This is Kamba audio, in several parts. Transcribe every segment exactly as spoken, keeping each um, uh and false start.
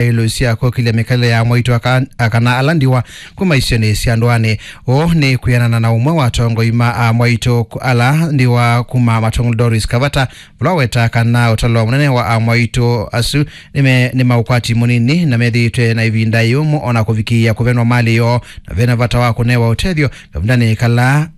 ilũ sya kũkĩlya mĩkalĩle ya amwaitũ aka-, kana ala ndiwa kuma isionĩ sya ndũanĩ. Ũũ nĩ kwĩanana na ũmwe wa atongoi ma amwaitũ ku-, ala ndiwa kuma Matongolo, Doris Kavata, vala waweta kana ũtalo mũnene wa amwaitũ asu nĩme-, nĩ ma ũkwati mũnini na methĩĩtwe na ĩvinda yũmũ ona kũvikĩĩa kũvenwa malĩ yoo, na vena vata wa kũnewa ũtethyo kavindanĩ kala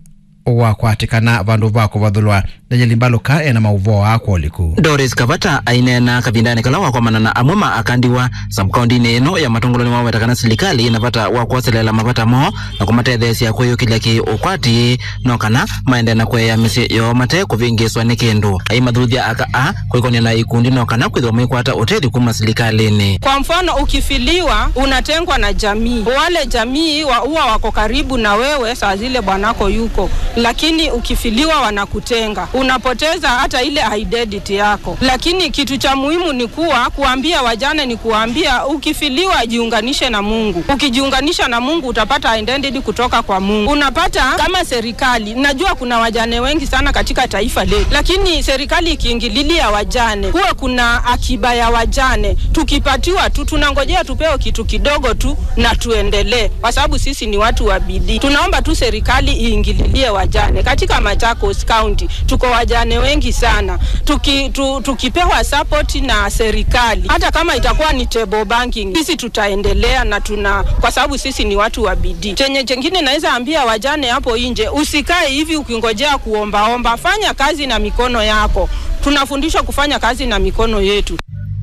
wakwatĩkana vandũ va kũvathũlwa. Daniel Mbaluka ena maũvoo aa kwa ũliku. Doris Kavata aineena kavindanĩ kala wakomana na amwe ma aka ndiwa sub-kaũntĩnĩ ĩno ya Matongolo nĩwaweta kana silikalĩ ĩna vata wa kwoselela mavata moo na kũmatetheesya kwĩyũkĩlya kĩ-ũkwati, no kana maendee na kũea mĩsyĩ yoo mate kũvĩngĩĩswa nĩ kĩndũ. Aimathuthya aka aa kwĩkonĩa na ikundi no kana kwĩthĩwa maikwata ũtethyo kuma silikalĩnĩ. Kwa mfano, ukifiliwa, unatengwa na jamii. Wale jamii wa, huwa wako karibu na wewe saa zile bwanako yuko, lakini ukifiliwa wanakutenga, unapoteza hata ile identity yako. Lakini kitu cha muhimu ni kuwa kuambia wajane ni kuambia, ukifiliwa, jiunganishe na Mungu. Ukijiunganisha na Mungu, utapata identity kutoka kwa Mungu. Unapata kama serikali, najua kuna wajane wengi sana katika taifa letu, lakini serikali ikiingililia wajane, kuwe kuna akiba ya wajane, tukipatiwa tu, tunangojea tupewe kitu kidogo tu na tuendelee, kwa sababu sisi ni watu wa bidii. Tunaomba tu serikali iingililie wajane. Katika Machakos County, tuko wajane wengi sana. Tuki-, tu-, tukipewa support na serikali, hata kama itakuwa ni table banking, sisi tutaendelea na tuna-, kwa sababu sisi ni watu wa bidii. Chenye chengine naweza ambia wajane hapo nje, usikae hivi ukingojea kuombaomba. Fanya kazi na mikono yako. Tunafundishwa kufanya kazi na mikono yetu.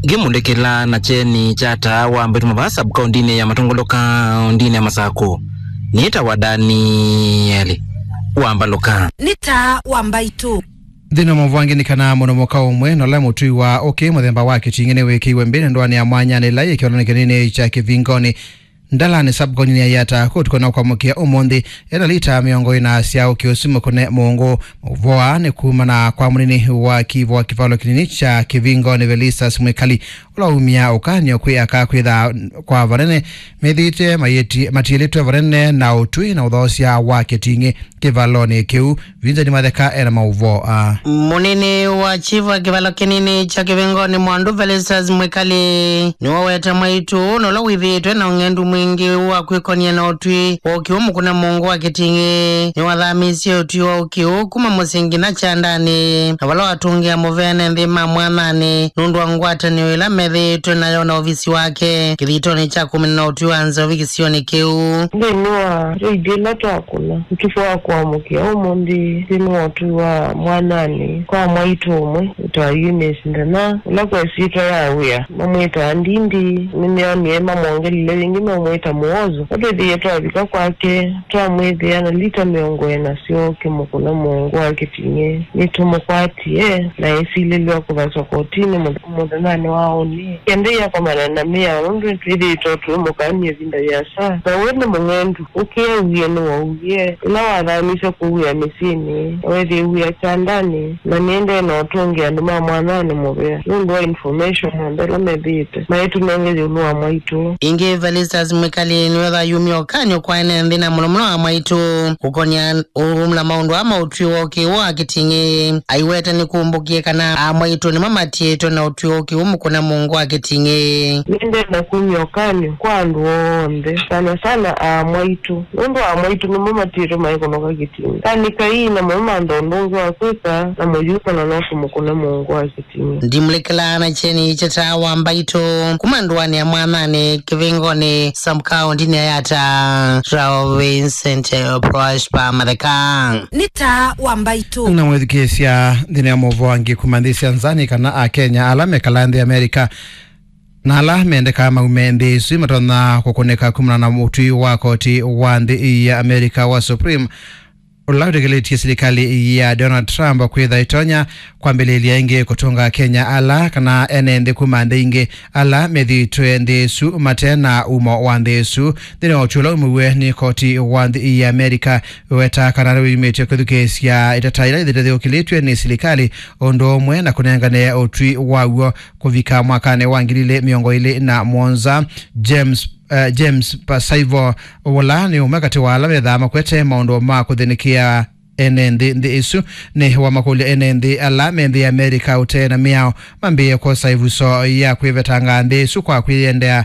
Ngĩmũlĩkĩla na kyeni kya taa wa mbaitũ mavaa sub-kaũntĩnĩ ya Matongolo kaũntĩnĩ ya Masakũ, nĩtawa Danieli wa Mbaluka. Nĩ taa wa mbaitũ. Nthĩnĩ wa maũvoo angĩ nĩ kana mũno mũka ũmwe na ũla mũtũi wa ũkĩ mũthemba wa kĩting'ĩ nĩwĩkĩiwe mbĩ nĩ ndũanĩ ya mwanyanĩ ĩla yĩ kĩvalonĩ kĩnini kya Kĩvingoni, Ndalani sub-kaũntĩnĩ ya Yatta, kũu tũkwenda kwamũkĩa ũmũnthĩ, ena lita mĩongo ĩna sya ũkĩ ũsu mũkũne mũngũ. Maũvoo aa nĩ kumana kwa mũnini wa kĩvo wa kĩvalo kĩnini kya Kĩvingoni, Velistas Mwikali, ũla waumya ũkany'o kwĩ aka kwĩtha kwa vanene methĩĩtwe mayĩti-, matiĩlĩtwe vanene na ũtũi na ũthoosya wa kĩting'ĩ kĩvalonĩ kĩu. Vincent Matheka ena maũvoo aa. Mũnini wa chief wa kĩvalo kĩnini kya Kĩvingoni, Mwandu Felicitas Mwikali, nĩwaweta mwaitũ ũũ na ũla wĩthĩĩtwe na ũng'endu mwingĩ wa kwĩkonia na ũtwi wa ũkĩ ũũ mũkũne mũngũ wa kĩting'ĩ. Nĩwathamisye ũtwi wa ũkĩ ũũ kuma mũsyĩ nginya kyandanĩ, na vala watũngĩa mũvene nthĩ ma mwananĩ nũndũ wa ngwatanĩo ĩla methĩĩtwe nayo na ovisi wake kĩthitonĩ kya kũmina na ũtwi wa nzovi kĩsionĩ kĩu. Nthĩnĩ wa raid ĩla twakũna ũtukũ wa kũamũkĩa ũmũnthĩ nthĩnĩ wa ũtwi wa mwananĩ kwa mwaitũ ũmwe wĩtawa Eunice Ndana, ũla kwa ĩsyĩtwa ya wĩa mamwĩtaa Ndindi, nĩmeonie mamwongelile wĩngĩ meũmwĩta Mũozo. Ĩla twĩthĩie twavika kwake, twamwĩthĩa na lita mĩongo ĩna sya ũkĩ mũkũne mũngũ wa kĩting'ĩ. Nĩtũmũkwatie na esilĩlw'a kũthaswa kotinĩ mũthe-, mũthenyanĩ wa ũnĩ. Kĩendeea kũmana na mĩao nũndũ nĩtwĩthĩĩtwe tũimũkany'a ĩvinda yĩasa. Na we nĩ mũng'endu, ũkĩ auie nĩwauie. Ĩla wathamisye kũwĩa mĩsyĩnĩ, weethĩie wĩa kyandanĩ, na nĩendee na ũtũngĩa andũ ma mwananĩ mũvea nũndũ wa information onthe ĩla methĩĩte maitũnenge ĩũlũ wa mwaitũ. Ĩngĩ, Felicitas Mwikali nĩwetha ayumya ũkany'o kwa ene nthĩ na mũno mũno amwaitũ kũkonia ũmla maũndũ aa ma ũtwi wa ũkĩ wa kĩting'ĩ. Aiweta nĩkumbũkie kana amwaitũ nĩmo matiĩtwe na ũtwi wa ũkĩ ũũ mũkũne mũngũ wa kĩting'ĩ. Nĩendee na kumya ũkany'o kwa andũ onthe, sana sana amwaitũ. Nũndũ amwaitũ nĩmo matiĩtwe maikũnoka kĩting'ĩ. Kanĩ kaii na mũno mantha ũndũ ũngĩ wa kwĩka na mũyumana no kũmũkũna mũngũ wa kĩting'ĩ. Ndimũlĩkĩlaa na kyeni kya taa wa mbaitũ kuma ndũanĩ ya mwananĩ Kĩvingoni sub-kaũntĩnĩ ya Yatta, Rao Vincent Prosper Matheka. Nĩ taa wa mbaitũ. Na mwĩthukĩĩsya nthĩnĩ ya maũvoo angĩ kuma nthĩ sya nza nĩ kana Akenya ala mekalaa nthĩ Amerika na ala mendekaa maume nthĩ ĩsu matonya kũkũnĩka kumana na mũtwi wa koti wa nthĩ ya Amerika wa Supreme, ũla wĩtĩkĩlĩtye silikalĩ ya Donald Trump kwĩtha ĩtonya kwambĩlĩlya ĩngĩ kũtũnga Akenya ala kana ene nthĩ kuma nthĩ ingĩ ala methĩĩtwe nthĩ ĩsu mate na umo wa nthĩ ĩsu. Nthĩnĩ wa ũtwi ũla umĩw'e nĩ koti wa nthĩ ya Amerika, wĩweta kana nĩwĩyumĩtye kwĩthukĩĩsya ĩtata ila ithyũkĩlĩtw'e nĩ silikalĩ ũndũ ũmwe na kũnengane ũtwi waw'o kũvika mwakanĩ wa ngili ilĩ mĩongo ĩlĩ na mũonza. James, eh, James Pasaivo, ũla nĩ ũmwe katĩ wa ala methaa makwete maũndũ ma kũthĩnĩkĩa ene nthĩ nthĩ ĩsu. Nĩ wamakũlya ene nthĩ ala me nthĩ ya Amerika ũtee na mĩao mambĩĩe kwosa ĩvuso ya kwĩvetanga nthĩ ĩsu kwa kwĩyendea